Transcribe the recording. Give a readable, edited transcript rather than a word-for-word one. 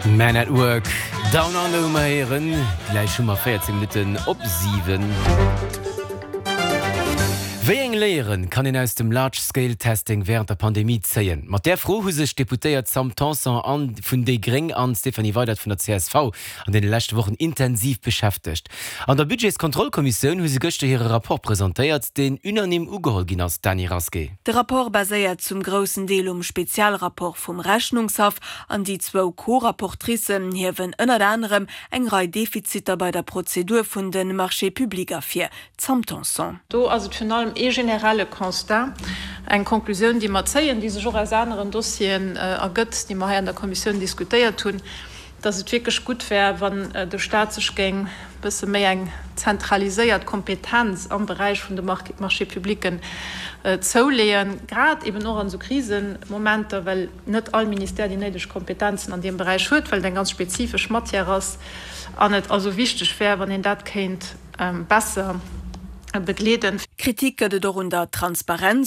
Man at Work, Down Under hu mer héieren. Gläich hu mer 14 Minutten op 7. Wéi eng Léiere kann een aus dem Large Scale Testing wärend der Pandemie zéien? Mat där Fro hu sech d'Deputéiert Sam Tanson an vun déi Gréng an Stéphanie Weydert vun der csv an deene leschte Wochen intensiv beschäftegt. An der Budgetskontrollkommissioun hu se gëschter hire Rapport presentéiert, deen unanime ugeholl ginn ass. Dany Rasqué. De Rapport baséiert zum groussen Deel um Spezialrapport vum Rechnungshaff an déi zwou Co-Rapportricen hiewen ënnert anerem eng Rei Defiziter bei der Prozedur vun de Marchés publics ervir. D'Sam Tanson. Do ass et virun allem ee generelle Constat, eng Konklusioun, déi mer zéien, déi sech och aus aneren Dossieren ergëtt, déi mer hei an der Kommissioun diskutéiert hunn, dass et wierklech gutt wär, wann de Stat sech géing e bësse méi eng zentraliséiert Kompetenz am Beräich vun de Marchés-publicken zouleeën, grad eben och an esou Krisemomenter, well net all Ministère déi néideg Kompetenzen an deem Beräich huet, well et eng ganz spezifesch Matière ass an et also wichteg wär, wann een dat kéint besser begleeden. Kritik gëtt et och un der Transparenz.